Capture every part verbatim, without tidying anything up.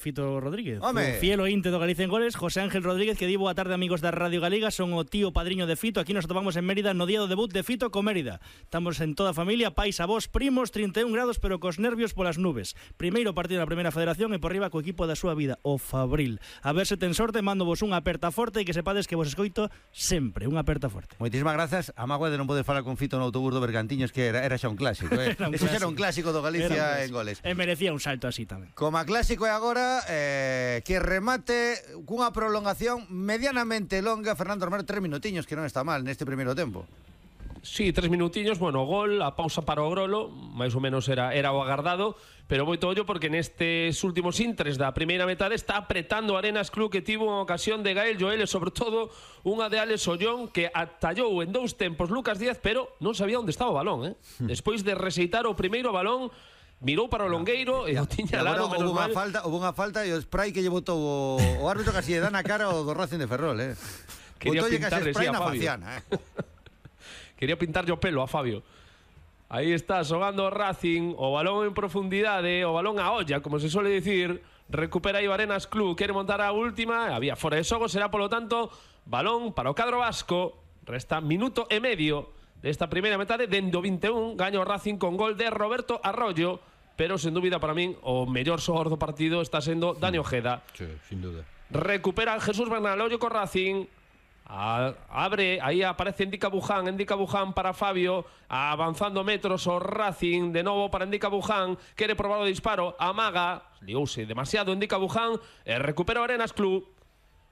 Fito Rodríguez, Home. o fiel ointe do Galicia en Goles. José Ángel Rodríguez, que di boa tarde, amigos da Radio Galega. Son o tío padriño de Fito. Aquí nos atopamos en Mérida no día do debut de Fito con Mérida. Estamos en toda a familia, pais, avós, primos, trinta e un grados, pero cos nervios polas nubes. Primeiro partido da Primeira Federación e por riba co equipo da súa vida, o Fabril. A ver se ten sorte, mando vos unha aperta forte e que sepades que vos escoito sempre. Unha aperta forte. Moitísimas grazas. A mágoa de non poder falar con Fito no autobús do Bergantiños, que era, era xa un clásico, eh? Era un Eso xa clásico. era un clásico do Galicia en Goles. E merecía un salto así tamén. Como a clásico é agora, eh, que remate cunha prolongación medianamente longa. Fernando Romero, tres minutiños, que non está mal neste primeiro tempo. Sí, tres minutiños, bueno, gol, a pausa para o Grolo, máis ou menos era, era o agardado, pero moito ollo porque nestes últimos intres da primeira metade está apretando Arenas Club, que tivo unha ocasión de Gael Joel e sobre todo unha de Alex Ollón, que atallou en dous tempos Lucas Díaz, pero non sabía onde estaba o balón, eh? Despois de reseitar o primeiro balón, mirou para o longueiro e o tiña laro, menos Houve unha mal. falta, houve unha falta e o spray que lle botou o, o árbitro casi lle dá na cara o do Racing de Ferrol, eh. Quería Botoulle casi pintarle, spray sí, a na Fabio. faciana, eh. Quería pintarlle o pelo a Fabio. Aí está, xogando o Racing, o balón en profundidade, o balón a olla, como se suele dicir. Recupera aí o Arenas Club, quere montar a última, había fora de xogo, será polo tanto balón para o cadro vasco. Resta minuto e medio desta primeira metade, dende o vinte e un, gaño o Racing con gol de Roberto Arroyo, pero sen dúbida para min o mellor xogador do partido está sendo Dani Ojeda. Sí, sin duda. Recupera Jesús Bernal, ollo co Racing. A, abre, aí aparece Endica Buján, Endica Buján para Fabio, avanzando metros o Racing, de novo para Endica Buján, quere probar o disparo, amaga, liouse demasiado Endica Buján, e recupera o Arenas Club.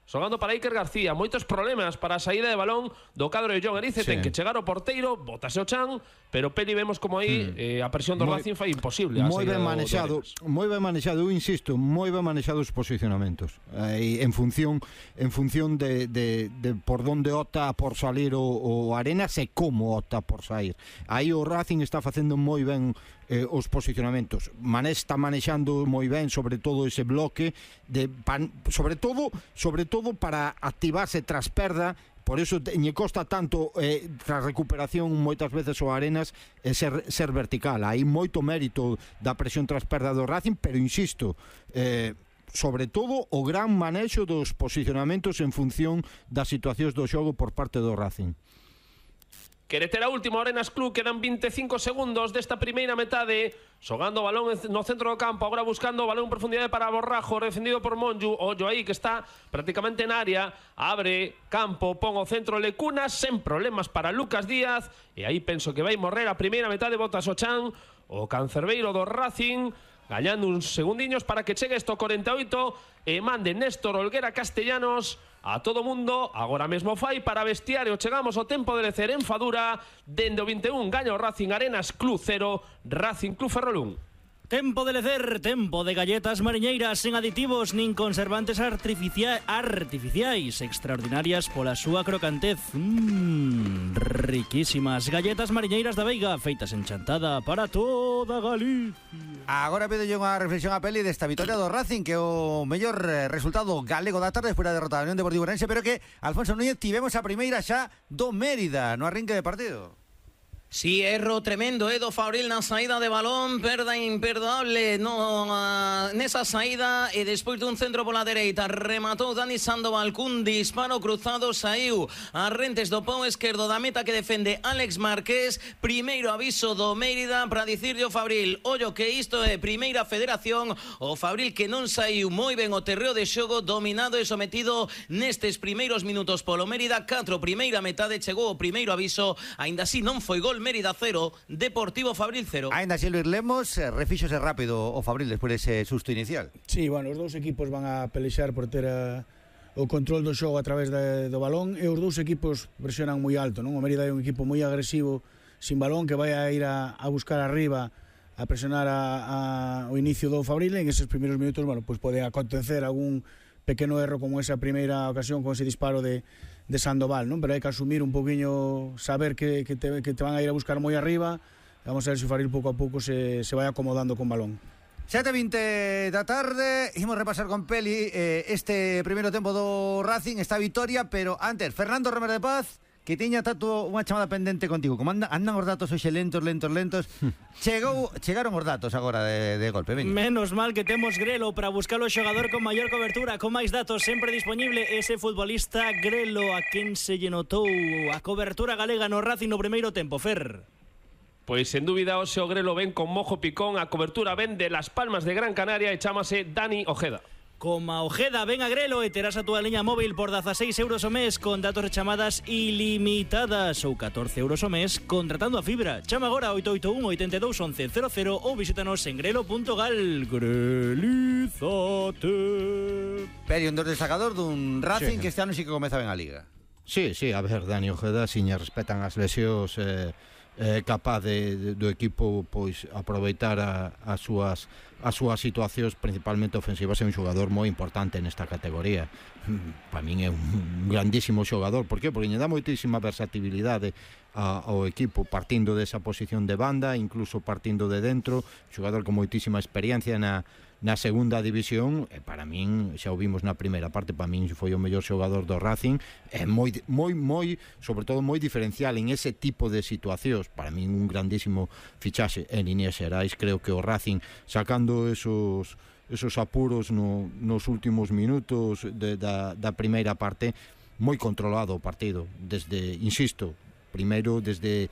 Xogando para Iker García, moitos problemas para a saída de balón do cadro de John Erice, Sí. ten que chegar o porteiro, botase o chan, pero Peli vemos como aí Hmm. eh, a presión do Moi- Racing fai imposible a Moi saída ben do- do manexado, Arenas. moi ben manexado, eu insisto, moi ben manexados os posicionamentos. Eh, en función en función de, de, de por donde opta por salir o, o Arenas e como opta por sair. Aí o Racing está facendo moi ben eh, os posicionamentos. Mané está manexando moi ben, sobre todo ese bloque de pan, sobre todo, sobre todo para activarse tras perda. Por eso lle costa tanto eh, tras recuperación moitas veces o Arenas eh, ser, ser vertical. Hai moito mérito da presión tras perda do Racing, pero insisto, eh, sobre todo o gran manexo dos posicionamentos en función das situacións do xogo por parte do Racing. Quere ter a última, Arenas Club, quedan vinte e cinco segundos desta primeira metade, xogando o balón no centro do campo, agora buscando o balón en profundidade para Borrajo, defendido por Monju, ollo aí que está prácticamente na área, abre campo, pon o centro Lecunas, sen problemas para Lucas Díaz, e aí penso que vai morrer a primeira metade, botas o chan, o cancerbeiro do Racing, gañando uns segundiños para que chegue isto corenta e oito e mande Néstor Olguera Castellanos a todo mundo. Agora mesmo fai para vestiario. Chegamos ao tempo de lecer en Fadura. Dende o vinte e un gaña o Racing, Arenas Club cero, Racing Club Ferrol un. Tempo de lecer, tempo de galletas mariñeiras sen aditivos nin conservantes artificia artificiais, extraordinarias pola súa crocantez. Mmm, riquísimas galletas mariñeiras da Veiga, feitas en chantada para toda Galicia. Agora pido unha reflexión a Peli desta vitoria do Racing, que é o mellor eh, resultado galego da tarde despois da derrota da Unión Deportiva Ourense, pero que Alfonso Núñez tivemos a primeira xa do Mérida no arrinque de partido. Sí, erro tremendo, Edo Fabril na saída de balón, perda imperdoable no, uh, nesa saída e despois dun centro pola dereita rematou Dani Sandoval cun disparo cruzado, saiu a rentes do pau esquerdo da meta que defende Alex Márquez. Primeiro aviso do Mérida para dicirlle o Fabril, ollo que isto é primeira federación, o Fabril que non saiu moi ben o terreo de xogo, dominado e sometido nestes primeiros minutos polo Mérida. Catro primeira metade, chegou o primeiro aviso, aínda así non foi gol. Mérida cero, Deportivo Fabril cero. Ainda así Luis Lemos, eh, refíxose rápido o Fabril despois dese susto inicial. Sí, bueno, os dous equipos van a pelexar por ter a, o control do xogo a través de, do balón, e os dous equipos presionan moi alto, non? O Mérida é un equipo moi agresivo sin balón, que vai a ir a, a buscar arriba, a presionar a, a, o inicio do Fabril. En eses primeiros minutos, bueno, pues pode acontecer algún pequeno erro como esa primeira ocasión con ese disparo de, de Sandoval, non? Pero hai que asumir un poquinho, saber que, que, te, que te van a ir a buscar moi arriba. Vamos a ver se o Fabril pouco a pouco se, se vai acomodando con balón. sete e vinte da tarde, imos repasar con Peli eh, este primeiro tempo do Racing, esta vitoria, pero antes, Fernando Romero de Paz, que teña tato unha chamada pendente contigo. Como anda, andan os datos hoxe lentos, lentos, lentos. Chegou, chegaron os datos agora de, de golpe. Veña. Menos mal que temos Grelo para buscar o xogador con maior cobertura, con máis datos, sempre disponible ese futbolista Grelo, a quen se lle notou a cobertura galega no Racing no primeiro tempo, Fer. Pois, sen dúbida, o seu Grelo ven con mojo picón, a cobertura ven de Las Palmas de Gran Canaria e chámase Dani Ojeda. Como a Ojeda, ven a Grelo e terás a túa liña móvil por dezaseis euros o mes con datos e chamadas ilimitadas ou catorce euros o mes contratando a fibra. Chama agora oito oito un, oito dos, once cero cero ou visítanos en grelo punto gal. Grelízate. Peri, un dos destacador dun Racing Sí. que este ano sí que comeza ben a Liga. Sí, sí, a ver, Dani Ojeda, se lle respetan as lesións, eh, eh, capaz de, de, do equipo pois aproveitar a, as súas as súas situacións principalmente ofensivas. É un xogador moi importante nesta categoría. Para min é un grandísimo xogador. Por qué? Porque lle dá moitísima versatilidade a, ao equipo partindo desa posición de banda, incluso partindo de dentro, xogador con moitísima experiencia na na segunda división, e para min, xa o vimos na primeira parte, para min foi o mellor xogador do Racing, é moi, moi, moi, sobre todo moi diferencial en ese tipo de situacións. Para min un grandísimo fichaxe en líneas xerais. Creo que o Racing, sacando esos esos apuros no, nos últimos minutos de, da, da primeira parte, moi controlado o partido, desde, insisto, primeiro desde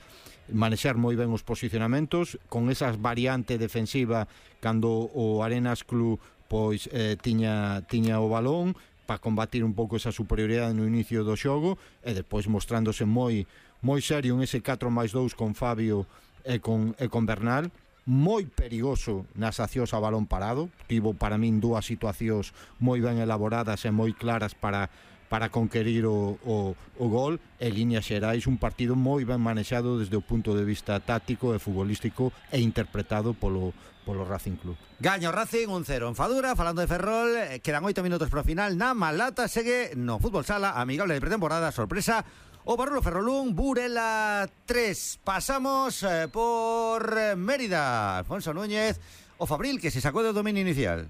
manexar moi ben os posicionamentos, con esas variante defensiva cando o Arenas Club pois eh, tiña, tiña o balón para combatir un pouco esa superioridade no inicio do xogo, e despois mostrándose moi moi serio en ese catro máis dous con Fabio e con, e con Bernal, moi perigoso nas accións a balón parado. Tivo para min dúas situacións moi ben elaboradas e moi claras para para conquerir o, o, o gol. E líneas xerais, un partido moi ben manexado desde o punto de vista táctico e futbolístico e interpretado polo, polo Racing Club. Gaño Racing un cero en Fadura. Falando de Ferrol, eh, quedan oito minutos para o final. Na Malata segue no fútbol sala amigable de pretemporada, sorpresa o Barrulo Ferrolún, Burela tres. Pasamos eh, por eh, Mérida. Alfonso Núñez, o Fabril, que se sacou do dominio inicial.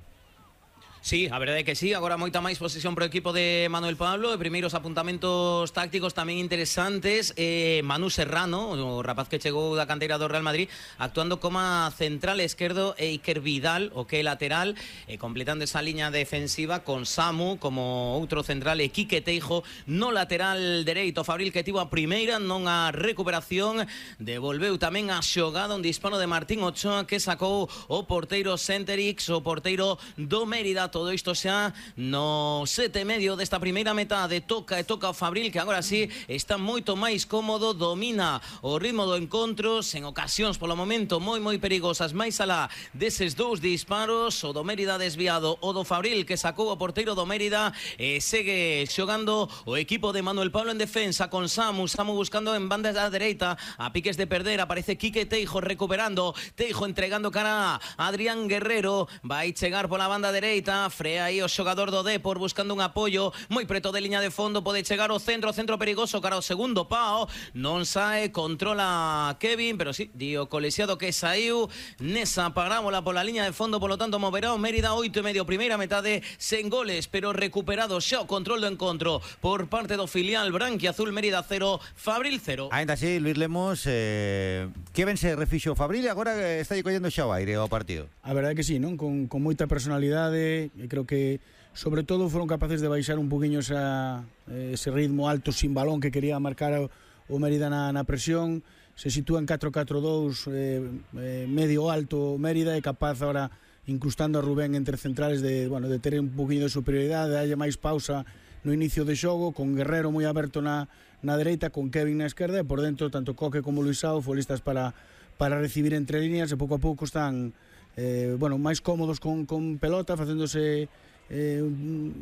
Sí, a verdade é que sí, agora moita máis posesión pro equipo de Manuel Pablo, e primeiros apuntamentos tácticos tamén interesantes. eh, Manu Serrano, o rapaz que chegou da canteira do Real Madrid, actuando como central esquerdo, e Iker Vidal, o que é lateral, e completando esa liña defensiva con Samu como outro central, e Quique Teijo no lateral dereito. Fabril, que tivo a primeira, non a recuperación, devolveu tamén a xogada, un disparo de Martín Ochoa que sacou o porteiro Centerix, o porteiro do Mérida. Todo isto xa no sete e medio desta primeira metade. Toca e toca o Fabril, que agora sí está moito máis cómodo, domina o ritmo do encontro, sen ocasións polo momento moi moi perigosas, máis alá deses dous disparos. O do Mérida desviado, o do Fabril que sacou o porteiro do Mérida, e segue xogando o equipo de Manuel Pablo en defensa con Samu, Samu buscando en banda da dereita, a piques de perder, aparece Quique Teijo recuperando, Teijo entregando cara a Adrián Guerrero, vai chegar pola banda dereita, frea aí o xogador do Depor buscando un apoio moi preto de liña de fondo, pode chegar o centro, centro perigoso cara ao segundo pao, non sae, controla Kevin, pero sí, dio colexiado que saiu nesa parábola pola liña de fondo, polo tanto moverá o Mérida. Oito e medio primeira metade, sen goles, pero recuperado xa o control do encontro por parte do filial branquiazul. Mérida cero, Fabril cero. Ainda así, Luis Lemos, eh, que ben se refixo o Fabril e agora está collendo xa o aire ao partido. A verdade é que sí, non? Con, con moita personalidade, e creo que sobre todo foron capaces de baixar un poquinho esa, ese ritmo alto sin balón que quería marcar o, o Mérida na, na presión. Se sitúa en catro catro dous, eh, eh, medio alto Mérida, e capaz ahora, incrustando a Rubén entre centrales, de, bueno, de ter un poquinho de superioridade, de darlle máis pausa no inicio de xogo, con Guerrero moi aberto na, na dereita, con Kevin na esquerda, e por dentro tanto Coque como Luisao futbolistas para, para recibir entre líneas, e pouco a pouco están eh, bueno, máis cómodos con, con pelota, facéndose eh,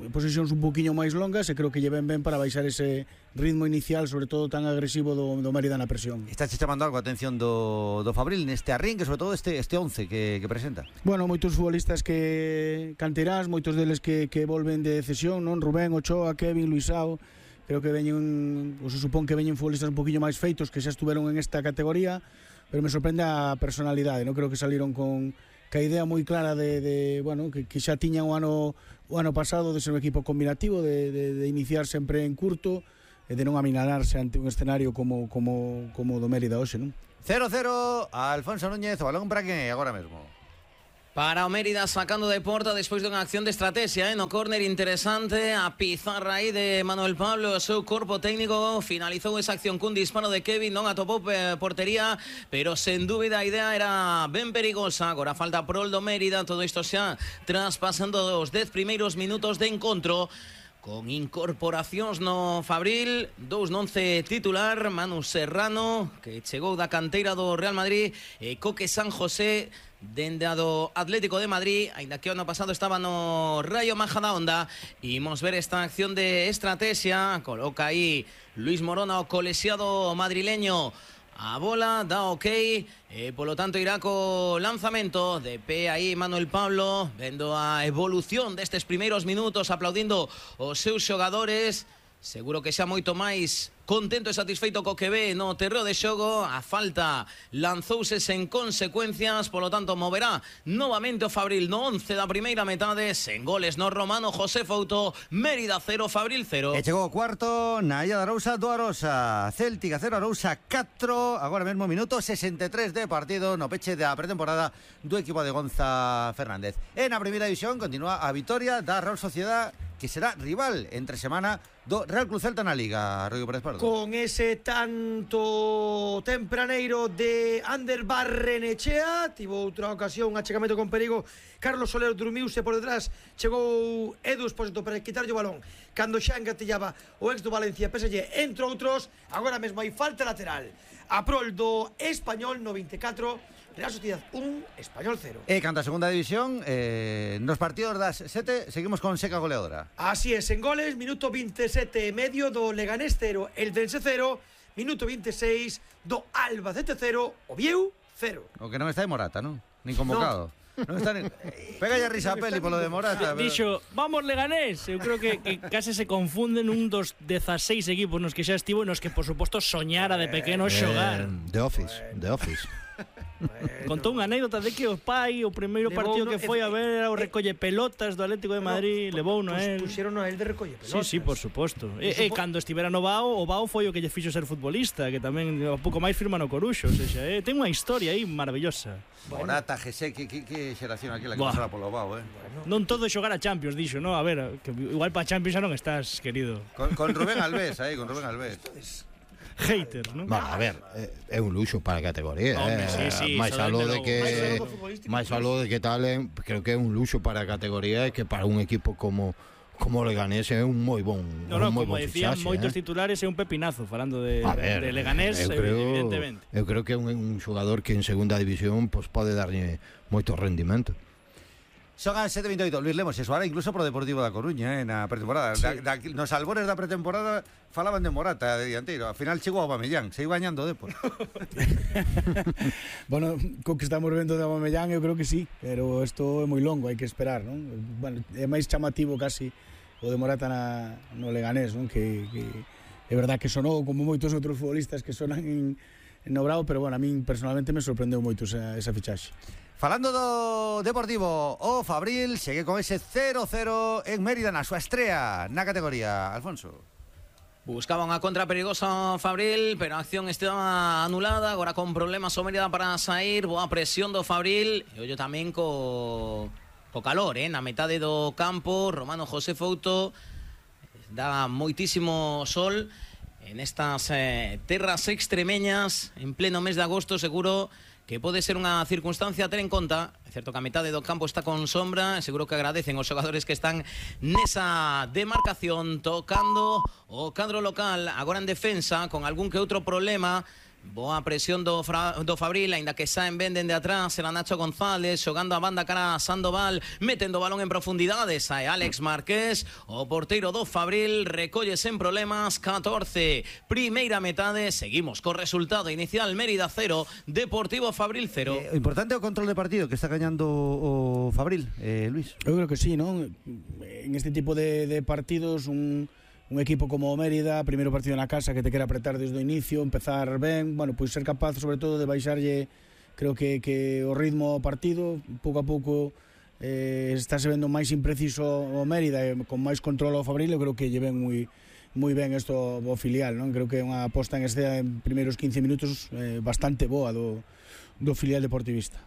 posesións un poquinho máis longas, e creo que lle ven ben para baixar ese ritmo inicial, sobre todo tan agresivo do, do Mérida na presión. Estás chamando algo a atención do, do Fabril neste arrinque, sobre todo este, este once que, que presenta? Bueno, moitos futbolistas que canterás, moitos deles que, que volven de cesión, non? Rubén, Ochoa, Kevin, Luisao. Creo que veñen, ou se supón que veñen futbolistas un poquinho máis feitos, que xa estuveron en esta categoría, pero me sorprende a personalidade, non? Creo que saliron con que a idea moi clara de, de bueno, que, que xa tiñan o ano o ano pasado de ser un equipo combinativo, de, de, de iniciar sempre en curto, e de non aminararse ante un escenario como como como do Mérida hoxe, non? cero cero, Alfonso Núñez, o balón para que agora mesmo. Para o Mérida sacando de porta despois dunha acción de estrategia, eh? No córner interesante, a pizarra aí de Manuel Pablo, o seu corpo técnico finalizou esa acción cun disparo de Kevin, non atopou portería, pero sen dúbida a idea era ben perigosa. Agora falta prol do Mérida, todo isto xa traspasando os dez primeiros minutos de encontro, con incorporacións no Fabril, dous no once titular, Manu Serrano, que chegou da canteira do Real Madrid, e Coque San José, dende a do Atlético de Madrid, aínda que o ano pasado estaba no Rayo Majadahonda. Imos ver esta acción de estrategia, coloca aí Luis Morona, o colexiado madrileño, a bola, dá ok, e polo tanto irá co lanzamento de pé aí Manuel Pablo, vendo a evolución destes primeiros minutos, aplaudindo os seus xogadores. Seguro que xa moito máis contento e satisfeito co que ve no terreo de xogo. A falta lanzouse sen consecuencias, polo tanto moverá novamente o Fabril no once da primeira metade, sen goles no Romano José Fouto. Mérida cero, Fabril cero. E chegou o cuarto na Illa de Arousa do Arosa. Céltica cero, Arousa catro. Agora mesmo minuto sesenta e tres de partido no peche da pretemporada do equipo de Gonza Fernández. E na primeira división continúa a vitoria da Real Sociedad, que será rival entre semana do Real Club Celta na Liga. Rodrigo Pérez Pardo. Con ese tanto tempraneiro de Ander Barrenechea, tivo outra ocasión, un achegamento con perigo, Carlos Soler durmiuse por detrás, chegou Edu Espósito para quitarlle o balón cando xa engatillaba o ex do Valencia P S G, entre outros. Agora mesmo hai falta lateral a prol do Español no vinte e catro, Real Sociedad un, Español cero. E canta a segunda división, eh, nos partidos das sete seguimos con seca goleadora. Así es, en goles, minuto veintisiete e medio do Leganés cero, Eldense cero, minuto veintiséis do Albacete cero, Oviedo cero. O que non está de Morata, non? Nin convocado. No. Non está nin... Pega ya risa a peli polo de Morata. Pero... Dixo, vamos Leganés. Eu creo que, que case se confunden un dos dezaseis equipos nos que xa estivo e nos que, por suposto, soñara de pequeno xogar. Eh, The Office, The Office. Contou unha anécdota de que o pai, o primeiro partido que foi a ver era o recolle pelotas do Atlético de Madrid, levou no él. Puxeron a él de recolle pelotas. Sí, sí, por suposto. E, e cando estivera no Bao, o Bao foi o que lle fixo ser futbolista, que tamén un pouco máis firma no Coruxo, o sea, eh, ten unha historia aí maravillosa. Morata, José, que, que, que xeración aquela que Buah. pasara polo Bao, eh? Bueno. Non todo xogar a Champions, dixo, no? A ver, que igual para Champions xa non estás, querido. Con, con Rubén Alves, aí, con Rubén Alves. Haters, non? Bueno, a ver, é un luxo para a categoría. Home, eh. sí, sí, máis iso aló de démelo. que Máis aló do futbolístico. máis aló de que tal, eh, creo que é un luxo para a categoría e que para un equipo como como Leganés é un moi bon, No, no, un moi como bon decían fichaxe, moitos eh. titulares, é un pepinazo falando de, A ver, de Leganés, eu creo, evidentemente. Eu creo que é un, un xogador que en segunda división pues, pode darlle moito rendimento. Son as sete e vinte e oito. Luis Lemos se soara incluso pro Deportivo da Coruña, eh, na pretemporada. Sí. Da, da, nos albores da pretemporada falaban de Morata de dianteiro. Al final chegou a Aubameyang, se iba bañando depois. Bueno, co que estamos vendo de Aubameyang eu creo que sí, pero isto é moi longo, hai que esperar, non? Bueno, é máis chamativo casi o de Morata na, no Leganés, non? Que, que é verdad que sonou como moitos outros futbolistas que sonan en, en no Bravo, pero bueno, a min personalmente me sorprendeu moito esa, esa fichaxe. Falando do Deportivo, o Fabril segue con ese cero cero en Mérida na súa estrea na categoría. Alfonso. Buscaba unha contra perigosa Fabril, pero a acción estaba anulada. Agora con problemas o Mérida para sair. Boa presión do Fabril. E ollo tamén co, co calor, eh? Na metade do campo, Romano José Fouto. Dá moitísimo sol en estas eh, terras extremeñas en pleno mes de agosto. Seguro que pode ser unha circunstancia a ter en conta. É certo que a metade do campo está con sombra, seguro que agradecen os xogadores que están nesa demarcación, tocando o cadro local, agora en defensa, con algún que outro problema. Boa presión do, Fra, do Fabril, aínda que saen venden de atrás, era Nacho González, xogando a banda cara a Sandoval, metendo o balón en profundidade, sae Alex Márquez, o porteiro do Fabril, recolle sen problemas, catorce, primeira metade, seguimos co resultado inicial, Mérida cero, Deportivo Fabril cero. Eh, o importante é o control de partido que está gañando o Fabril, eh, Luis. Eu creo que sí, non? En este tipo de, de partidos, un... un equipo como o Mérida, primeiro partido na casa que te quere apretar desde o inicio, empezar ben, bueno, pois ser capaz sobre todo de baixarlle, creo que, que o ritmo ao partido, pouco a pouco eh, está se vendo máis impreciso o Mérida, e con máis control ao Fabril, eu creo que lle ven moi moi ben isto o filial, non? Creo que é unha aposta en escena en primeiros quince minutos eh, bastante boa do, do filial deportivista.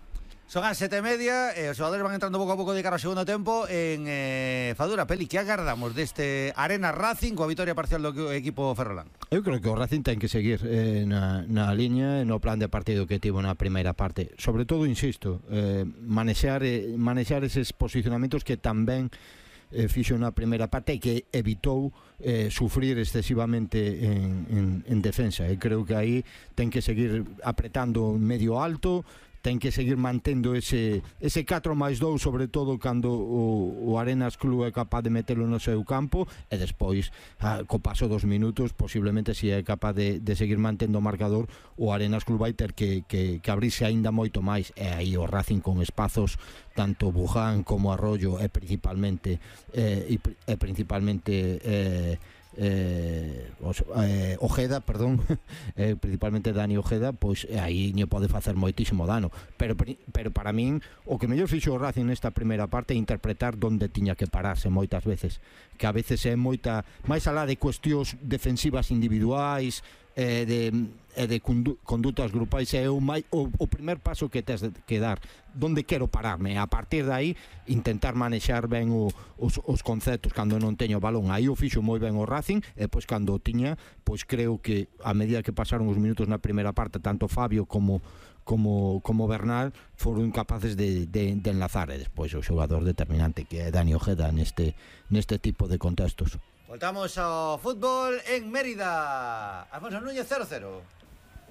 Son as sete e media, e os xogadores van entrando pouco a pouco de cara ao segundo tempo en eh, Fadura. Peli, que agardamos deste Arena Racing coa vitoria parcial do equipo ferrolán? Eu creo que o Racing ten que seguir eh, na, na liña e no plan de partido que tivo na primeira parte. Sobre todo, insisto, eh, manexar, eh, manexar eses posicionamentos que tamén eh, fixo na primeira parte e que evitou eh, sufrir excesivamente en, en, en defensa. E creo que aí ten que seguir apretando medio alto, ten que seguir mantendo ese, ese catro máis dous, sobre todo cando o, o Arenas Club é capaz de metelo no seu campo, e despois, a, co paso dos minutos, posiblemente se é capaz de, de seguir mantendo o marcador, o Arenas Club vai ter que, que, que abrirse aínda moito máis, e aí o Racing con espazos tanto Buján como Arroyo e principalmente eh, e, e principalmente eh, Eh, os, eh, Ojeda, perdón eh, principalmente Dani Ojeda, pois aí non pode facer moitísimo dano, pero, pero para min o que mellor fixo o Racing nesta primeira parte é interpretar onde tiña que pararse moitas veces, que a veces é moita máis alá de cuestións defensivas individuais e de, e de condutas grupais, é o, mai, o, o primer paso que tes que dar, donde quero pararme, a partir de aí intentar manexar ben o, os, os conceptos cando non teño balón. Aí o fixo moi ben o Racing, e pois cando o tiña, pois creo que a medida que pasaron os minutos na primeira parte, tanto Fabio como como, como Bernal foron incapaces de, de, de enlazar, e despois o xogador determinante que é Dani Ojeda neste, neste tipo de contextos. Voltamos ao fútbol en Mérida. Alfonso Núñez, cero cero.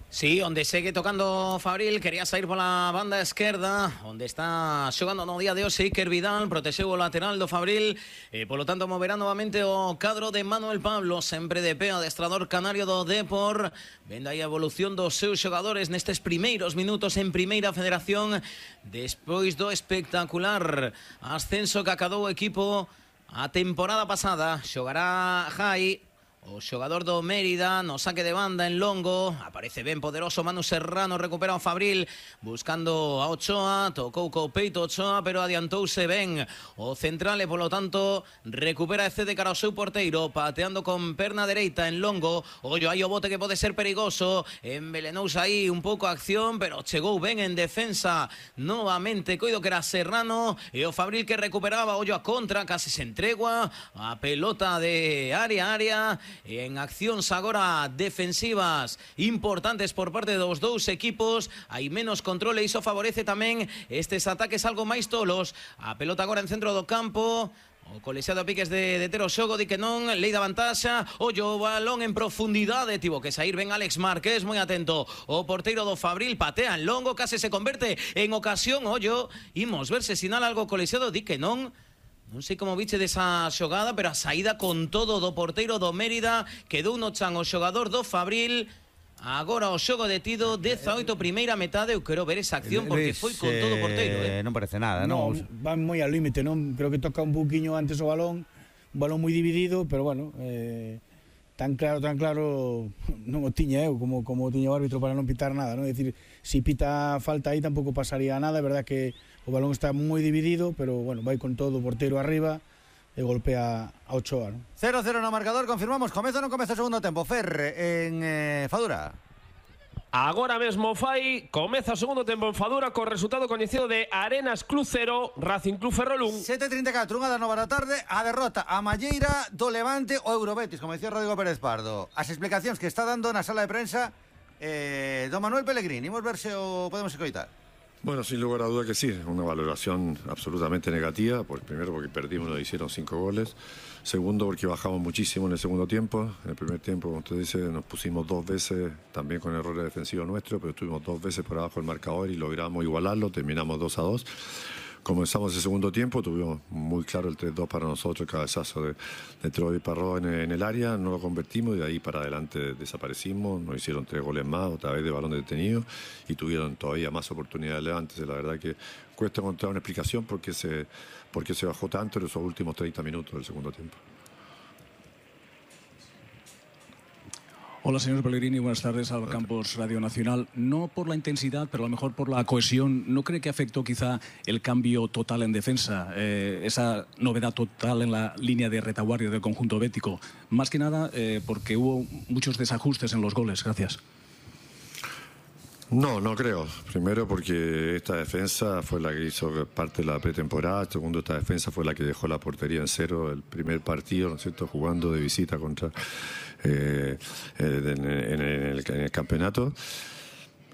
Sí, onde segue tocando Fabril, quería sair pola banda esquerda, onde está xogando no día de hoxe Iker Vidal, protexeu o lateral do Fabril, e polo tanto moverá novamente o cadro de Manuel Pablo, sempre de pé, adestrador canario do Depor, vendo aí a evolución dos seus xogadores nestes primeiros minutos en Primeira Federación, despois do espectacular ascenso que acadou o equipo a temporada pasada. Xogará Jai, o xogador do Mérida, no saque de banda en longo, aparece ben poderoso Manu Serrano, recupera o Fabril, buscando a Ochoa, tocou co peito Ochoa, pero adiantouse ben o central e polo tanto recupera e cede cara ao seu porteiro, pateando con perna dereita en longo, ollo aí o bote que pode ser perigoso, envelenouse aí un pouco a acción, pero chegou ben en defensa novamente, coido que era Serrano, e o Fabril que recuperaba, ollo a contra, casi se entregua, a pelota de área a área, e en accións agora defensivas importantes por parte dos dous equipos, hai menos control e iso favorece tamén estes ataques algo máis tolos. A pelota agora en centro do campo, o colexiado a piques de, de Tero Xogo, di que non, lei da vantaxa, ollo o balón en profundidade, tivo que sair ben Alex Márquez, moi atento, o porteiro do Fabril patea en longo, case se converte en ocasión, ollo, imos ver se sinala algo colexiado, di que non. Non sei como viche desa xogada, pero a saída con todo do porteiro do Mérida, quedou no chan o xogador do Fabril. Agora o xogo detido, dezaoito primeira metade. Eu quero ver esa acción porque foi con todo o porteiro, eh? Non parece nada, no, non? Van moi al límite, non? Creo que toca un buquiño antes o balón, un balón moi dividido, pero bueno, eh, tan claro, tan claro non o tiña eu como, como o tiña o árbitro para non pitar nada, non? É dicir, si pita falta aí tampouco pasaría nada, é verdad que o balón está moi dividido, pero bueno, vai con todo o porteiro arriba e golpea a Ochoa, non? cero cero no marcador, confirmamos, comeza ou non comeza o segundo tempo? Fer, en eh, Fadura. Agora mesmo fai, comeza o segundo tempo en Fadura co resultado coñecido de Arenas Club cero, Racing Club Ferrol un. sete e trinta e catro, unha das nove da tarde, a derrota a Malleira do Levante o Eurobetis, como decía Rodrigo Pérez Pardo. As explicacións que está dando na sala de prensa eh, don Manuel Pellegrini. Imos ver se o podemos escoitar. Bueno, sin lugar a duda que sí, una valoración absolutamente negativa, pues primero porque perdimos, nos hicieron cinco goles, segundo porque bajamos muchísimo en el segundo tiempo, en el primer tiempo, como usted dice, nos pusimos dos veces, también con errores defensivos nuestros, pero estuvimos dos veces por abajo del marcador y logramos igualarlo, terminamos dos a dos. Comenzamos el segundo tiempo, tuvimos muy claro el tres dos para nosotros, el cabezazo de, de Troy Parró en, en el área, no lo convertimos y de ahí para adelante desaparecimos, nos hicieron tres goles más, otra vez de balón detenido y tuvieron todavía más oportunidades antes. La verdad que cuesta encontrar una explicación por qué se, por qué se bajó tanto en esos últimos treinta minutos del segundo tiempo. Hola, señor Pellegrini, buenas tardes al Campos Radio Nacional. No por la intensidad, pero a lo mejor por la cohesión, ¿no cree que afectó quizá el cambio total en defensa, eh, esa novedad total en la línea de retaguardia del conjunto bético? Más que nada eh, porque hubo muchos desajustes en los goles. Gracias. No, no creo. Primero porque esta defensa fue la que hizo parte de la pretemporada. Segundo, esta defensa fue la que dejó la portería en cero el primer partido, ¿no es cierto?, jugando de visita contra eh, en, en, el, en el campeonato.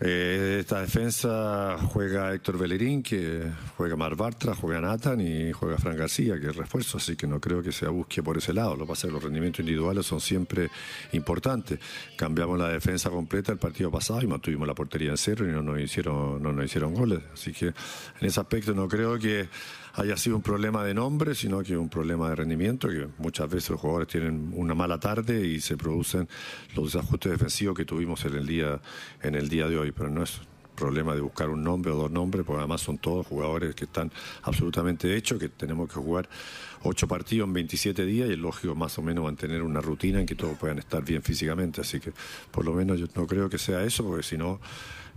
Eh, esta defensa juega Héctor Bellerín, que juega Mar Bartra, juega Nathan y juega Fran García, que es refuerzo, así que no creo que se busque por ese lado. Lo que pasa es que los rendimientos individuales son siempre importantes. Cambiamos la defensa completa el partido pasado y mantuvimos la portería en cero y no nos hicieron, no nos hicieron goles. Así que en ese aspecto no creo que haya sido un problema de nombre, sino que un problema de rendimiento, que muchas veces los jugadores tienen una mala tarde y se producen los desajustes defensivos que tuvimos en el día, en el día de hoy, pero no es problema de buscar un nombre o dos nombres, porque además son todos jugadores que están absolutamente hechos, que tenemos que jugar ocho partidos en veintisiete días y es lógico más o menos mantener una rutina en que todos puedan estar bien físicamente, así que por lo menos yo no creo que sea eso, porque si no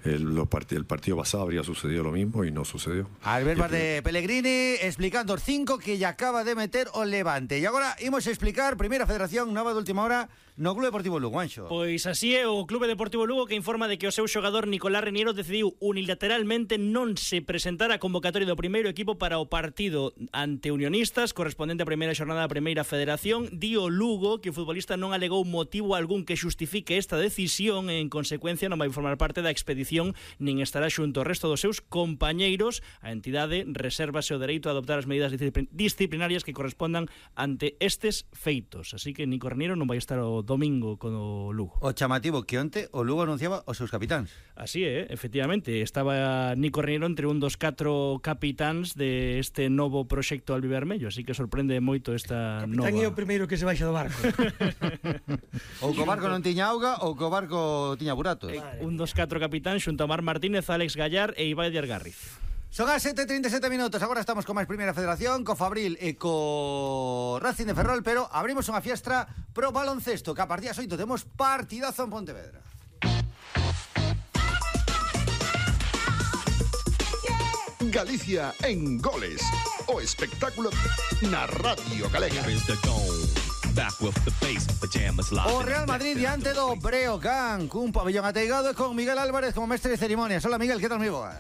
El, los part el partido pasado habría sucedido lo mismo y no sucedió. Albert Bar de Pellegrini explicando os cinco que ya acaba de meter o Levante. E agora imos explicar Primeira Federación nova de última hora no Clube Deportivo Lugo, Anxo. Pois así é o Clube Deportivo Lugo, que informa de que o seu xogador Nicolás Reniero decidiu unilateralmente non se presentar a convocatoria do primeiro equipo para o partido ante Unionistas correspondente á primeira xornada da Primeira Federación. Di o Lugo que o futbolista non alegou motivo algún que xustifique esta decisión e en consecuencia non vai formar parte da expedición nin estará xunto ao resto dos seus compañeiros. A entidade resérvase o dereito a adoptar as medidas disciplinarias que correspondan ante estes feitos. Así que Nico Reniero non vai estar o domingo con o Lugo. O chamativo que onte o Lugo anunciaba os seus capitáns. Así é, efectivamente, estaba Nico Reniero entre un dos catro capitáns de este novo proxecto albivermello, así que sorprende moito esta Capitán nova. Capitán é o primeiro que se baixa do barco. Ou co barco non tiña auga ou co barco tiña buratos. Eh, un dos catro capitáns xunto a Mar Martínez, Alex Gallar e Ibai de Argarriz. Son as sete e trinta e sete minutos. Agora estamos con máis Primeira Federación, co Fabril e co Racing de Ferrol, pero abrimos unha fiestra pro baloncesto, que a partir das oito temos partidazo en Pontevedra. Galicia en goles, o espectáculo na Radio Galega. O Real Madrid diante do Breogán, cun pabellón ateigado e con Miguel Álvarez como mestre de ceremonias. Hola Miguel, que tal, moi boas?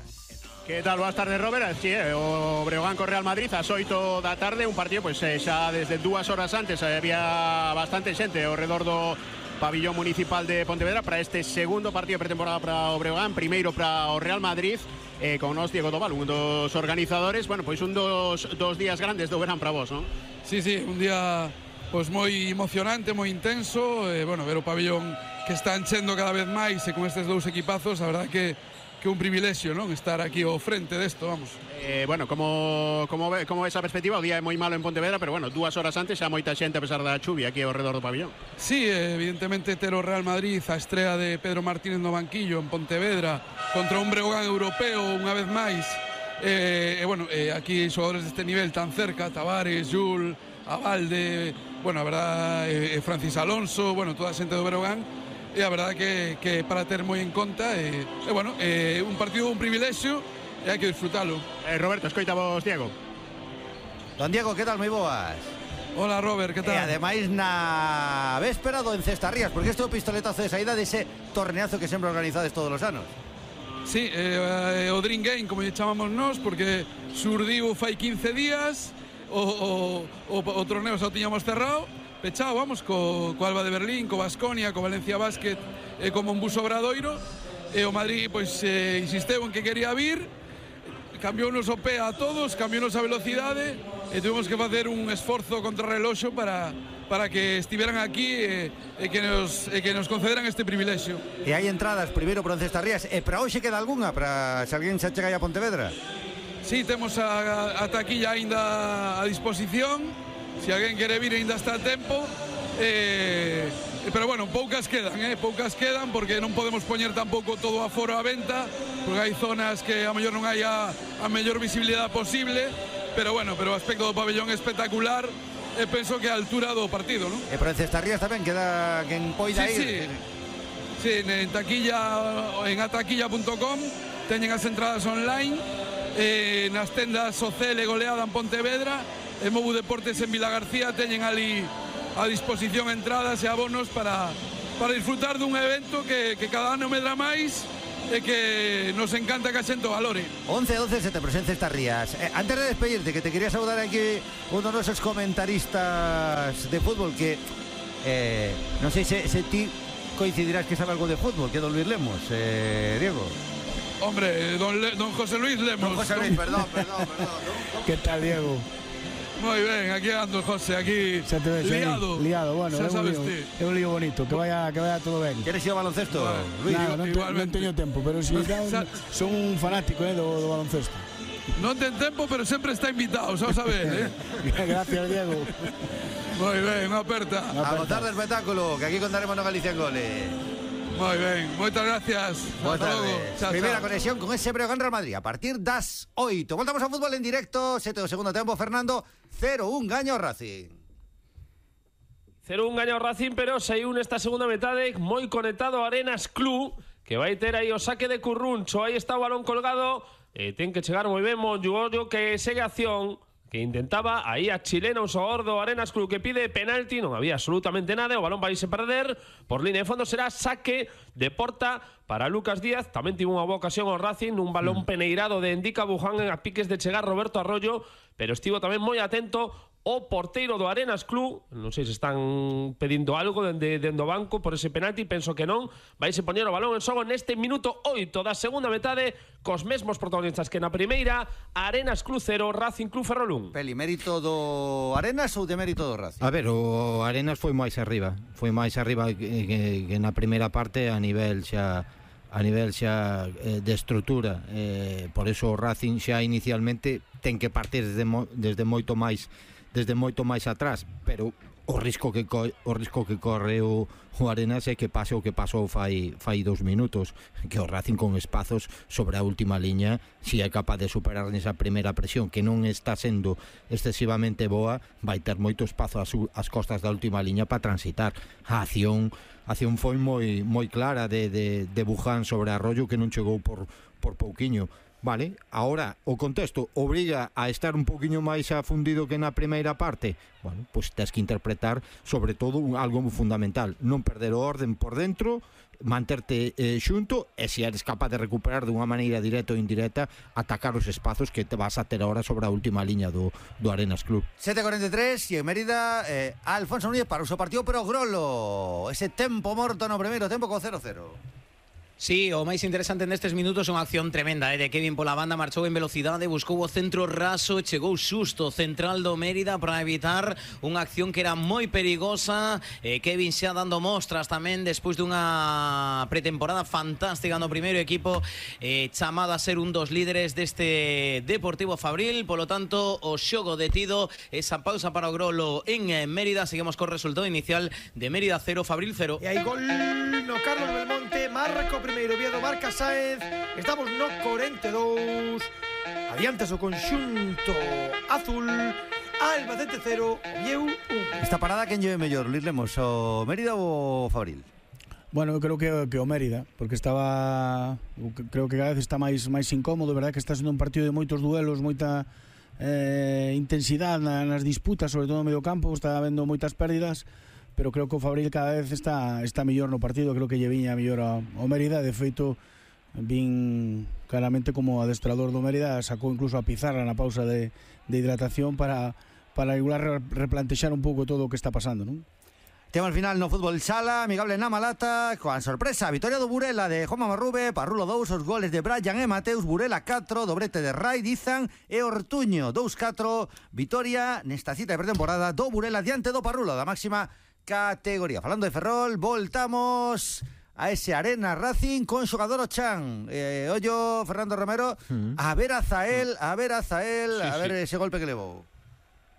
Que tal, boas tardes, Robert? Sí, o Breogán co Real Madrid ás oito da tarde, un partido pois pues, xa desde dúas horas antes había bastante xente ao redor do pabillón municipal de Pontevedra para este segundo partido de pretemporada para o Breogán, primeiro para o Real Madrid, eh, con nos Diego Tobal, un dos organizadores. Bueno, pois pues un dos, dos días grandes do verán para vos, non? Sí, sí, un día pois pues, moi emocionante, moi intenso, eh, bueno, ver o pabillón que está enchendo cada vez máis e con estes dous equipazos, a verdade que que un privilexio, non? Estar aquí ao frente desto, vamos. Eh, bueno, como como ve, como esa perspectiva, o día é moi malo en Pontevedra, pero bueno, dúas horas antes xa moita xente a pesar da chuvia aquí ao redor do pabillón. Sí, evidentemente ter o Real Madrid, a estrela de Pedro Martínez no banquillo en Pontevedra contra un Breogán europeo unha vez máis. Eh, eh, bueno, eh, aquí xogadores deste nivel tan cerca, Tavares, Jul, Abalde, bueno, a verdade, eh, Francis Alonso, bueno, toda a xente do Breogán. E a verdade que, que para ter moi en conta e, e bueno, eh, un partido un privilexio e hai que disfrutalo. eh, Roberto, escoita vos, Diego. Don Diego, que tal, moi boas? Hola Robert, que tal? E ademais na véspera do Encestarrías, porque este é o pistoletazo de saída dese torneazo que sempre organizades todos os anos. Sí, eh, o Dream Game, como lle chamamos nós, porque surdiu fai quince días, o, o, o, o torneo xa o tiñamos cerrado, pechado, vamos, co, co Alba de Berlín, co Baskonia, co Valencia Basket e co Monbus Obradoiro, e o Madrid pois eh, insisteu en que quería vir, cambiounos o pé a todos, cambiounos a velocidade e tuvimos que facer un esforzo contra o reloxo para, para que estiveran aquí e, e, que nos, e que nos concederan este privilexio. E hai entradas primeiro para Encestarrías e para hoxe queda algunha para se alguén se chega aí a Pontevedra? Sí, temos a, a taquilla aínda a disposición. Se alguén quere vir ainda está a tempo, eh, pero bueno, poucas quedan, eh, poucas quedan porque non podemos poñer tampouco todo a foro a venta, porque hai zonas que a mellor non hai a, a mellor visibilidade posible, pero bueno, pero o aspecto do pabellón é espectacular e penso que a altura do partido, non? E para Encestarrías tamén queda quen poida sí, ir. Sí. Sí, en taquilla, en ataquilla punto com teñen as entradas online, eh, nas tendas Ocele Goleada en Pontevedra, e Mobu Deportes en Vilagarcía teñen ali a disposición entradas e abonos para, para disfrutar dun evento que, que cada ano medra máis e que nos encanta que a xente o valore. once doce se te presenta estas rías. Eh, antes de despedirte, que te quería saludar aquí uno de esos comentaristas de fútbol que eh, non sei se, se ti coincidirás que sabe algo de fútbol, que don Luis Lemos, eh, Diego. Hombre, don, Le, don José Luis Lemos. Don José Luis, perdón, perdón, perdón. ¿Qué tal, Diego? Muy bien, aquí ando José, aquí Se te ves, liado. Eh, liado, bueno, Xa é un, sabes lío, ti. é un lío bonito, que vaya, que vaya todo ben. ¿Quieres ir ao baloncesto, Vale. Luis? Nada, non, te, non teño tempo, pero si Xa- son un fanático eh, do, do baloncesto. Non ten tempo, pero sempre está invitado, xa o sabes, eh? Gracias, Diego. Moi ben, unha aperta. A gozar del espectáculo, que aquí contaremos no Galicia en Goles. Moi ben, moitas gracias. Buenas Hasta logo. tardes. Chao, Primera chao. conexión con ese Breogán Real Madrid a partir das oito. Voltamos ao fútbol en directo, sete do segundo tempo, Fernando, cero un gaño ao Racing. cero un gaño ao Racing, pero saiu nesta segunda metade moi conectado a Arenas Club, que vai ter aí o saque de Curruncho. Aí está o balón colgado, e ten que chegar moi ben Monju Ollo, que segue a acción, que intentaba aí a chilena, un xogador do Arenas Club que pide penalti, non había absolutamente nada, o balón vai se perder, por línea de fondo será saque de porta para Lucas Díaz. Tamén tivo unha boa ocasión ao Racing, un balón peneirado de Endica Buján en a piques de chegar Roberto Arroyo, pero estivo tamén moi atento o porteiro do Arenas Club. Non sei se están pedindo algo dende, dende o banco por ese penalti, penso que non. Vaise poñer o balón en xogo neste minuto oito da segunda metade, cos mesmos protagonistas que na primeira. Arenas Club cero, Racing Club Ferrolún. Peli, mérito do Arenas ou de mérito do Racing? A ver, o Arenas foi máis arriba, foi máis arriba que, que, que na primeira parte a nivel xa a nivel xa eh, de estrutura, eh, por eso o Racing xa inicialmente ten que partir desde, mo, desde moito máis desde moito máis atrás, pero o risco que co, o risco que corre o, o Arenas é que pase o que pasou fai fai dous minutos, que o Racing con espazos sobre a última liña, si é capaz de superar nesa primeira presión que non está sendo excesivamente boa, vai ter moito espazo ás, ás costas da última liña para transitar. A acción a acción foi moi moi clara de, de, de Buján sobre Arroyo, que non chegou por, por pouquiño. Vale, ahora o contexto obriga a estar un poquinho máis afundido que na primeira parte. Bueno, pois pues tes que interpretar sobre todo un, algo fundamental, non perder o orden por dentro, manterte eh, xunto, e se eres capaz de recuperar de unha maneira directa ou indirecta, atacar os espazos que te vas a ter ahora sobre a última liña do, do Arenas Club. sete cuarenta y tres e en Mérida eh, Alfonso Núñez para o seu partido, pero Grolo, ese tempo morto no primeiro tempo co cero cero. Sí, o máis interesante nestes minutos é unha acción tremenda eh, de Kevin pola banda, marchou en velocidade, buscou o centro raso, chegou xusto central do Mérida para evitar unha acción que era moi perigosa. eh, Kevin xa dando mostras tamén despois dunha pretemporada fantástica no primeiro equipo, eh, chamado a ser un dos líderes deste Deportivo Fabril. Polo tanto, o xogo detido, esa pausa para o Grolo en eh, Mérida. Seguimos co resultado inicial de Mérida cero, Fabril cero. E hai gol no Carlos Belmonte, marca o primeiro, Viedo marca Sáenz. Estamos no cuarenta y dos. Adiantas o conxunto azul. Albacete cero, Oviedo un. Esta parada quen lleve mellor, Luis Lemos, o Mérida ou o Fabril? Bueno, eu creo que, que o Mérida, porque estaba, creo que cada vez está máis máis incómodo, verdad, que está sendo un partido de moitos duelos, moita eh, intensidade nas disputas, sobre todo no medio campo, está habendo moitas pérdidas, pero creo que o Fabril cada vez está está mellor no partido. Creo que lle viña mellor ao, ao Mérida. De feito, vin claramente como adestrador do Mérida sacou incluso a pizarra na pausa de, de hidratación para, para igual replantexar un pouco todo o que está pasando, non? Tema al final no fútbol sala, amigable na Malata, coa sorpresa, vitoria do Burela de Juanma Marrube, Parrulo dous, os goles de Brian e Mateus, Burela catro, dobrete de Rai, Dizan e Ortuño, dous catro, vitoria nesta cita de pretemporada do Burela diante do Parrulo, da máxima categoría. Falando de Ferrol, voltamos a ese Arena Racing con xogador Ochan. Eh, ollo, Fernando Romero, mm. a ver a Zael, a ver a Zael, sí, a ver sí. ese golpe que levou.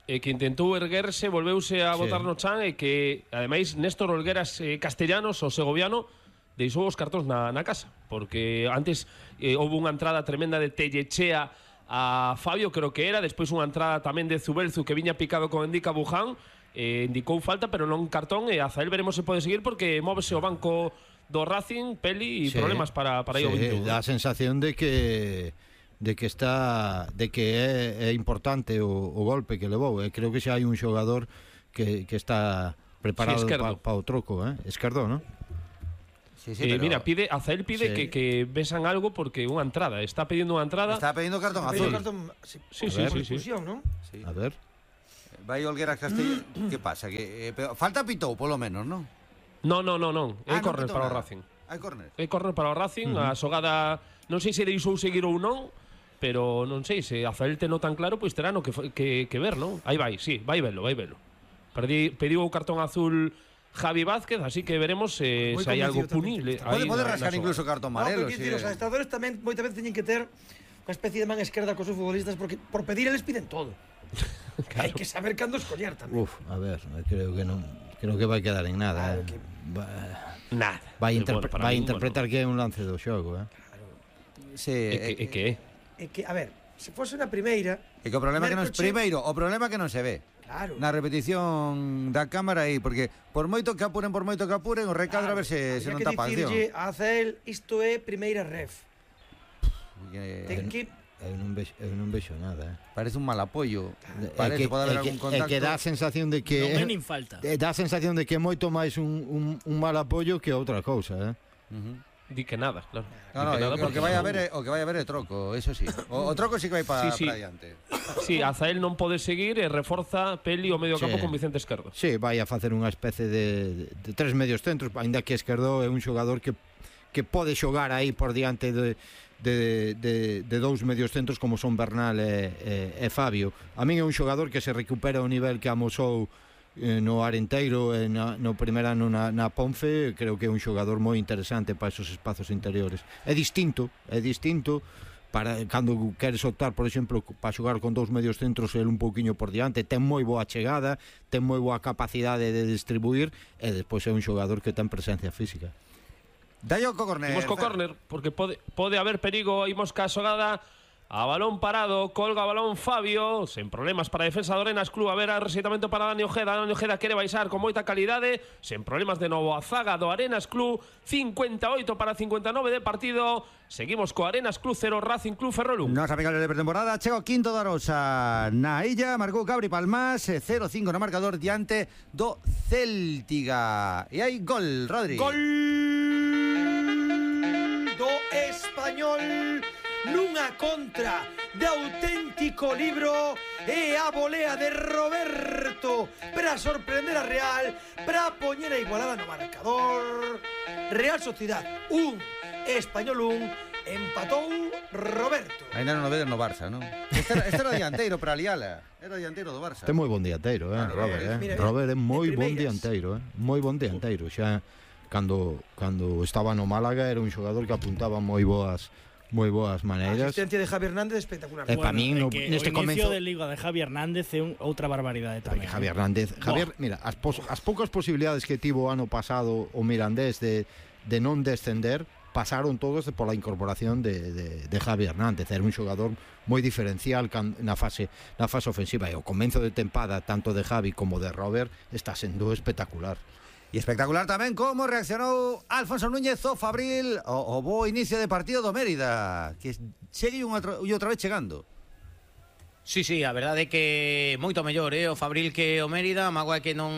E que intentou erguerse, volveuse a botar sí. no chan, e que, ademais, Néstor Olgueras eh, Castellanos, o segoviano, deixou os cartóns na, na casa, porque antes eh, houve unha entrada tremenda de Tellechea a Fabio, creo que era, despois unha entrada tamén de Zubelzu que viña picado con Endica Buján, eh, indicou falta, pero non cartón, e a Zael veremos se pode seguir porque móvese o banco do Racing, Peli, e Sí. problemas para, para ir ao Sí, veintiuno. dá a sensación de que de que está de que é, é importante o, o golpe que levou. E creo que xa hai un xogador que, que está preparado Sí, para Esquerdo. pa o troco, eh? Esquerdo, ¿no? Sí, sí, Eh, pero mira, pide, Azael pide Sí. que, que besan algo porque unha entrada. Está pidiendo unha entrada. está pidiendo cartón Pero azul. cartón, sí, Sí, por sí, sí, sí. expulsión, ¿no? Sí. A ver. Vai Olgueras Castellón. ¿Qué pasa? Que, eh, pero falta pitou, polo menos, ¿no? No, no, no, non. É Ah, non corner pitou para o nada. Racing. Hai córner. É corner para o Racing. A xogada, non sei se deixou seguir ou non, pero non sei, se Azael te non tan claro, pois terá no que, fo- que, que ver, non? Aí vai, sí, vai velo, vai velo. Perdi, pediu o cartón azul Javi Vázquez, así que veremos eh, Moi se hai algo convencido punible. Pode, aí pode na- na rascar xogada. incluso cartón No, amarelo. pero sí, quero dicir, os eh. adestradores tamén moitas veces teñen que ter unha especie de man esquerda cos seus futbolistas porque por pedir eles piden todo. Hai que saber cando escoller tamén. Uf, a ver, creo que non creo que vai quedar en nada, Claro eh. que- Va- Nada. Vai, Eh, interpre bueno, para vai min, interpretar que é un lance do xogo, eh. Sí, Bueno, é que, eh, é que é. É que, a ver, se fose na primeira, é que o problema é que non é Mercoche- primeiro, o problema é que non se ve. claro. Na repetición da cámara aí, porque por moito que apuren, por moito que apuren, o recadro a ver se, se habría non que tapa a acción. dicirlle a Azael, isto é primeira ref. Eh, Ten que Eu non vexo, eu non vexo nada, eh. Parece un mal apoio. É Parece que, pode haber é que, algún é contacto. que dá a sensación de que Non é nin falta. é, dá a sensación de que é moito máis un, un, un mal apoio que outra cousa, eh. Ujú. Di que nada, claro. No, Di no, que nada o, o porque que vai a non- ver é, o que vai a ver é troco, eso sí. O, o troco sí que vai para Sí, sí. pa adiante. Sí, Azael non pode seguir e reforza Peli o medio campo Sí. con Vicente Esquerdo. Sí, vai a facer unha especie de, de, de tres medios centros, aínda que Esquerdo é un xogador que que pode xogar aí por diante de de, de, de dous medios centros como son Bernal e, e, e Fabio. A min é un xogador que se recupera o nivel que amosou eh, no Arenteiro e na, no primer ano na, na Ponfe. Creo que é un xogador moi interesante para esos espazos interiores. É distinto, é distinto para cando queres optar, por exemplo, para xogar con dous medios centros el un pouquiño por diante, ten moi boa chegada, ten moi boa capacidade de distribuir e despois é un xogador que ten presencia física. Dayo co córner. Imos co Fer. córner, porque pode, pode haber perigo. Imos ca xogada a balón parado, colga o balón Fabio, sen problemas para a defensa do Arenas Club. A ver, a rexeitamento para Dani Ojeda. Dani Ojeda quere baixar con moita calidade, sen problemas de novo a zaga do Arenas Club. cincuenta e oito para cincuenta e nove de partido. Seguimos co Arenas Club cero, Racing Club Ferrolum. Nos amigos de pretemporada, chega o quinto da Rosa na illa, marcou Cabri Palmás, eh, cero cinco no marcador diante do Céltiga. E hai gol, Rodri. Gol do Español nunha contra de auténtico libro e a volea de Roberto para sorprender a Real, para poñer a igualada no marcador. Real Sociedad un, Español un, empatou Roberto. Ainda non o vedes no Barça, non? Este era, este era dianteiro para Aliala. Era dianteiro do Barça. Ten moi bon dianteiro, eh, Claro, Robert, eh. mira, mira, Robert é moi de bon primeiras. dianteiro, eh. Moi bon dianteiro, xa cando cando estaba no Málaga era un xogador que apuntaba moi boas moi boas A maneiras. asistencia de Javi Hernández espectacular. E pa min no, é que neste o inicio comezo de Liga de Javi Hernández é un, outra barbaridade Porque tamén. Javier Hernández, Javier, mira, as, pos, as poucas posibilidades que tivo o ano pasado o Mirandés de, de non descender pasaron todos pola incorporación de, de, de Javi Hernández. Era un xogador moi diferencial can, na fase na fase ofensiva e o comenzo de tempada tanto de Javi como de Robert está sendo espectacular. E espectacular tamén como reaccionou Alfonso Núñez o Fabril o, o bo inicio de partido do Mérida, que segue unha e outra vez chegando. Sí, sí, a verdade é que moito mellor, eh, o Fabril que o Mérida, mágoa é que non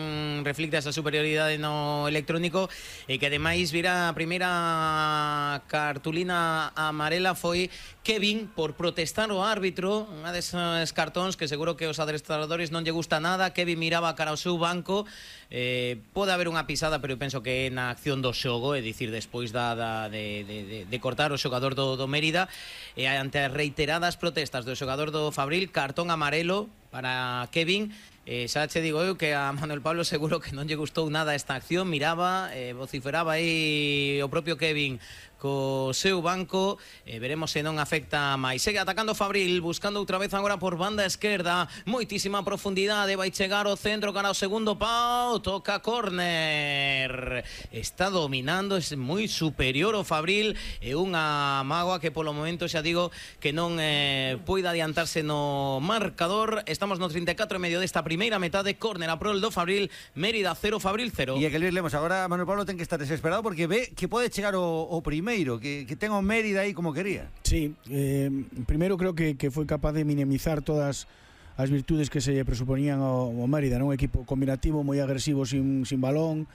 reflicta esa superioridade no electrónico e que ademais vira a primeira cartulina amarela foi Kevin por protestar o árbitro, unha desas cartóns que seguro que os adestradores non lle gusta nada. Kevin miraba cara ao seu banco, eh, pode haber unha pisada, pero eu penso que é na acción do xogo, é dicir, despois da, da de, de, de, de cortar o xogador do, do Mérida, e ante as reiteradas protestas do xogador do Fabril, cartón amarelo para Kevin. Eh, xa che digo eu que a Manuel Pablo seguro que non lle gustou nada esta acción, miraba, eh, vociferaba aí o propio Kevin co seu banco, eh, veremos se non afecta máis. Segue atacando Fabril, buscando outra vez agora por banda esquerda, moitísima profundidade, vai chegar o centro cara ao segundo pau, toca córner, está dominando, é moi superior o Fabril, e unha mágoa que polo momento xa digo que non eh, poida adiantarse no marcador. Estamos no treinta e catro e medio desta primeira primeira metade, córner a prol do Fabril, Mérida cero, Fabril cero. E é que Luis Lemos agora Manuel Pablo ten que estar desesperado porque ve que pode chegar o, o primeiro, que, que ten o Mérida aí como quería. Sí, eh, primeiro creo que, que foi capaz de minimizar todas as virtudes que se presuponían ao, ao Mérida, non? Un equipo combinativo, moi agresivo sin, sin balón,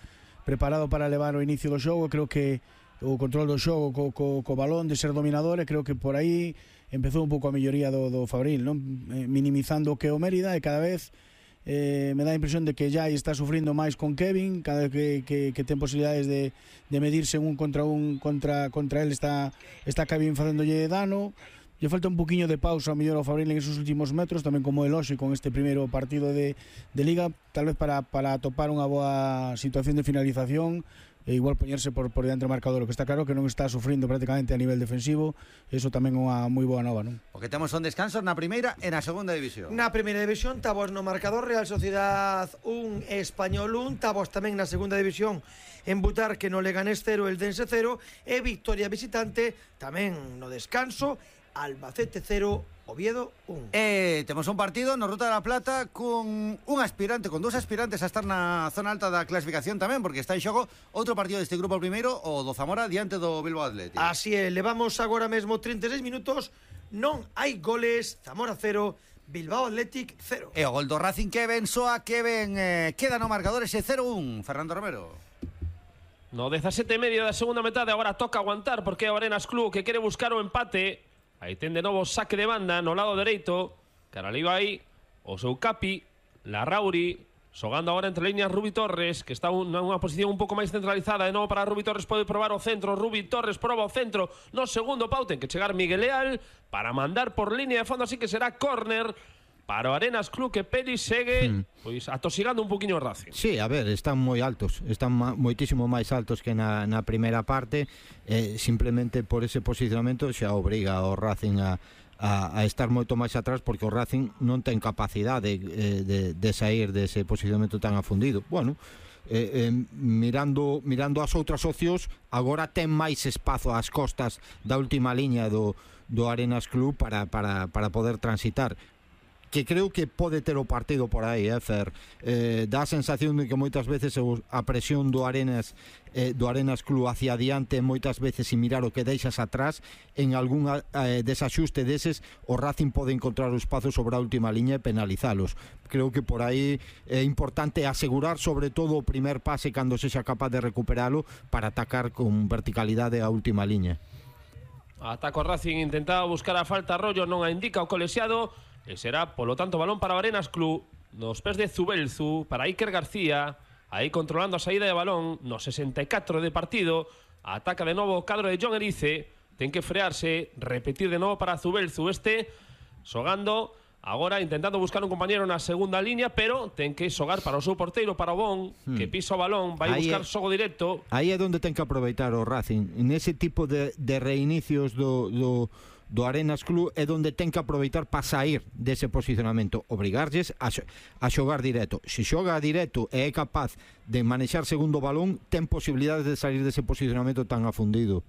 preparado para levar o inicio do xogo. Creo que o control do xogo co, co, co balón, de ser dominador, e creo que por aí empezou un pouco a melloría do, do Fabril, non? Eh, minimizando o que o Mérida, e cada vez eh, me dá a impresión de que Jai está sufrindo máis con Kevin, cada vez que, que, que ten posibilidades de, de medirse un contra un contra, contra él, está, está Kevin facéndolle dano. Lle falta un poquinho de pausa ao mellor ao Fabril en esos últimos metros, tamén como el hoxe con este primeiro partido de, de Liga, tal vez para, para topar unha boa situación de finalización e igual poñerse por, por diante do marcador. O que está claro que non está sufrindo prácticamente a nivel defensivo, eso tamén é unha moi boa nova, non? O que temos son descansos na primeira e na segunda división. Na primeira división, tabos no marcador, Real Sociedad un, Español un, tabos tamén na segunda división en Butarque no Leganés cero, Eldense cero, e victoria visitante tamén no descanso, Albacete cero, Oviedo un. E temos un partido no Ruta da Plata con un aspirante, con dous aspirantes a estar na zona alta da clasificación tamén, porque está en xogo outro partido deste grupo primeiro, o do Zamora diante do Bilbao Athletic. Así é, levamos agora mesmo trinta e seis minutos, non hai goles, Zamora cero, Bilbao Athletic cero. E o gol do Racing que ben soa, que ben eh, queda no marcador ese cero un, Fernando Romero. No dezasete e medio da segunda metade, agora toca aguantar porque é o Arenas Club que quere buscar o empate. Aí ten de novo saque de banda no lado dereito. Caraliba aí o seu Capi, Larrauri, xogando agora entre líneas Rubi Torres, que está en unha posición un pouco máis centralizada. De novo para Rubi Torres, pode probar o centro. Rubi Torres proba o centro no segundo pau. Ten que chegar Miguel Leal para mandar por línea de fondo, así que será córner para o Arenas Club, que Peli segue hmm. pois atosigando un poquinho o Racing. Sí, a ver, están moi altos, están ma, moitísimo máis altos que na, na primeira parte, eh, simplemente por ese posicionamento xa obriga o Racing a, a, a estar moito máis atrás, porque o Racing non ten capacidade de, de, de sair dese posicionamento tan afundido. Bueno, eh, eh, mirando, mirando as outras opcións, agora ten máis espazo ás costas da última liña do, do Arenas Club para, para, para poder transitar, que creo que pode ter o partido por aí, eh, Fer. Eh, dá a sensación de que moitas veces a presión do Arenas eh, do Arenas Club hacia adiante, moitas veces sin mirar o que deixas atrás, en algún eh, desaxuste deses o Racing pode encontrar o espazo sobre a última liña e penalizalos. Creo que por aí é importante asegurar sobre todo o primer pase cando sexa capaz de recuperalo para atacar con verticalidade a última liña. Ataca o Racing, intentaba buscar a falta, Arroyo non a indica o colexiado. E será, polo tanto, balón para o Arenas Club nos pés de Zubelzu, para Iker García, aí controlando a saída de balón no sesenta e catro de partido. Ataca de novo o cadro de John Erice, ten que frearse, repetir de novo para Zubelzu, este xogando agora, intentando buscar un compañero na segunda línea, pero ten que xogar para o seu porteiro, para o Bon, hmm. que pisa o balón, vai buscar é, xogo directo. Aí é onde ten que aproveitar o Racing, nese tipo de, de reinicios do... do do Arenas Club, é onde ten que aproveitar para sair dese posicionamento, obrigarlles a, a xogar directo. Se xoga directo e é capaz de manexar segundo balón, ten posibilidades de sair dese posicionamento tan afundido.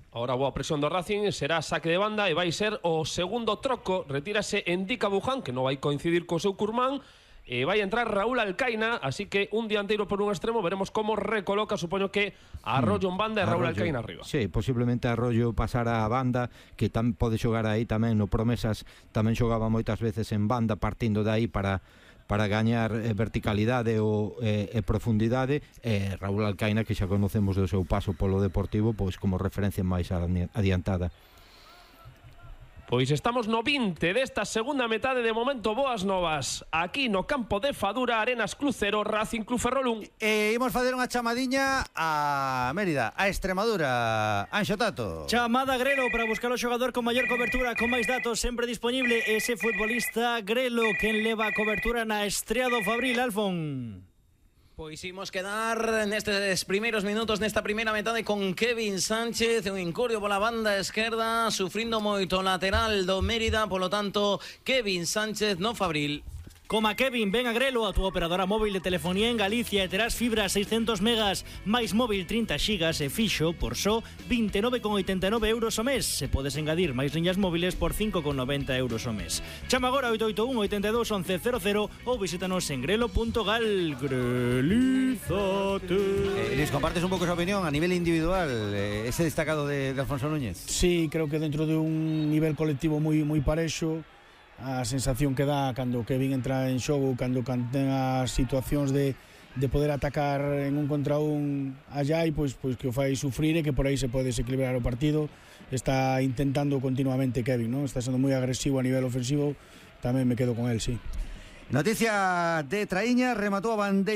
Ahora boa presión do Racing, será saque de banda e vai ser o segundo troco. Retírase Endika Buján, que non vai coincidir co seu Curmán, e vai entrar Raúl Alcaina, así que un dianteiro por un extremo. Veremos como recoloca, supoño que Arroyo en banda e Raúl Alcaina arriba. Sí, posiblemente Arroyo pasara a banda, que tam, pode xogar aí tamén no Promesas, tamén xogaba moitas veces en banda, partindo de aí para para gañar eh, verticalidade ou eh, e profundidade, e Raúl Alcaina, que xa conocemos do seu paso polo Deportivo, pois como referencia máis adiantada. Pois estamos no vinte desta segunda metade, de momento boas novas aquí no campo de Fadura. Arenas Club cero, Racing Club Ferrol un. E imos facer unha chamadiña a Mérida, a Extremadura. Anxo Tato. Chamada Grelo para buscar o xogador con maior cobertura, con máis datos, sempre disponible ese futbolista Grelo, quen leva a cobertura na estrea do Fabril, Alfon. Pois imos quedar nestes primeiros minutos nesta primeira metade con Kevin Sánchez, un incurio pola banda esquerda, sufrindo moito lateral do Mérida, polo tanto Kevin Sánchez no Fabril. Coma Kevin, ven a Grelo, a túa operadora móvil de telefonía en Galicia e terás fibra seiscentos megas máis móvil trinta xigas e fixo por só vinte e nove con oitenta e nove euros o mes. Se podes engadir máis liñas móviles por cinco con noventa euros o mes. Chama agora oito oito un, oito dos, once cero cero ou visítanos en grelo punto gal. Grelízate. Eh, Luis, compartes un pouco esa opinión a nivel individual, eh, ese destacado de, de Alfonso Núñez? Sí, creo que dentro de un nivel colectivo moi moi parexo, a sensación que dá cando Kevin entra en xogo, cando ten as situacións de, de poder atacar en un contra un allá e pois, pois que o fai sufrir e que por aí se pode desequilibrar o partido. Está intentando continuamente Kevin, ¿no? Está sendo moi agresivo a nivel ofensivo, tamén me quedo con él, sí. Noticia de Traíña, rematou a bandeira